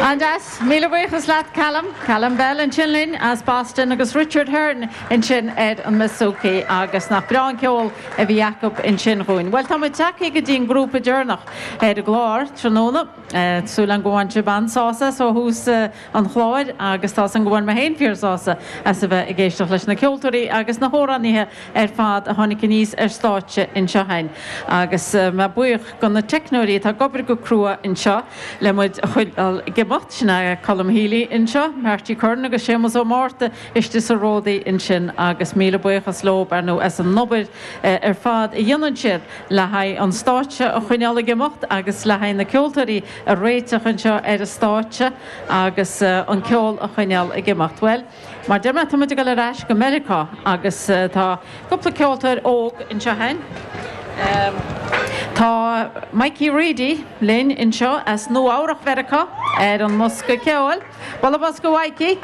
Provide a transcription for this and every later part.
An-deas. Míle buíochas leat, Callum. Callum Bell ansin linn as Boston agus Richard Hearne ansin ar an mbouzouki agus nach breá an ceol a bhí acu ansin dhúinn. Bhuel, tá muid tagtha go dtí an grúpa deireanach ar an gclár tráthnóna. Súil agam go bhain sibh an-sásamh as ó thús an chláir agus tá 's agam go bhain mé féin fíor-sásamh as a bheith ag éisteacht leis na ceoltóirí agus na hamhránaithe ar fad a tháinig aníos ar stáitse anseo againn agus mé buíoch do na teicneoirí atá ag obair go crua anseo le muid a choinneáil ag imeacht, sin é Colm Healy anseo, Marty Curran agus Séamus Ó Márta istigh sa Ródaí ansin agus míle buíochas leo, ar ndóigh, as an obair ar fad a dhéanann siad le haghaidh an stáitse a choinneáil ag imeacht agus le haghaidh na ceoltóirí a réiteach anseo ar an stáitse agus an ceol a choinneáil ag imeacht. Bhuel, mar deir mé, tá muid ag dul ar ais go Meiriceá agus tá cúpla ceoltóir óg anseo againn. Tá Mikey Reidy linn anseo as Nua Eabhrach Mheiriceá ar an mbosca ceoil. Bualadh bos do Mhikey!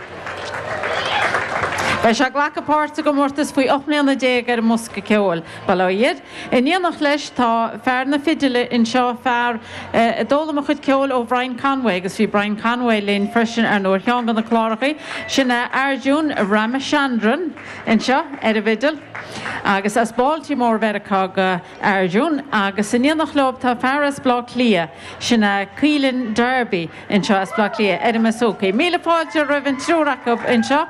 Beidh sé ag glacadh páirt i gcomórtas faoi 18 mbliana ar an mbosca ceoil, bail ó Dhia air. In éineacht leis tá fear na fidile anseo, fear a d'fhoghlaim a chuid ceoil ó Bhrian Conway agus bhí Brian Conway linn freisin ar ndóigh ar cheann de na cláracha. Sin é Arjun Ramachandran anseo ar an bhfidil agus as Baltimore Mheiriceá do Arjun agus in éineacht leo tá fear as Bleá Cliath, sin é Caoilinn Darby. anseo as Bleá Cliath ar an mbouzouki. Míle fáilte roimh an triúr acu anseo.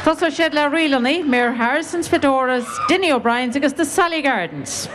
Tosóidh siad le ríleanna, Mary Harrison's Fedoras, Dinny O'Brien's agus The Sally Gardens.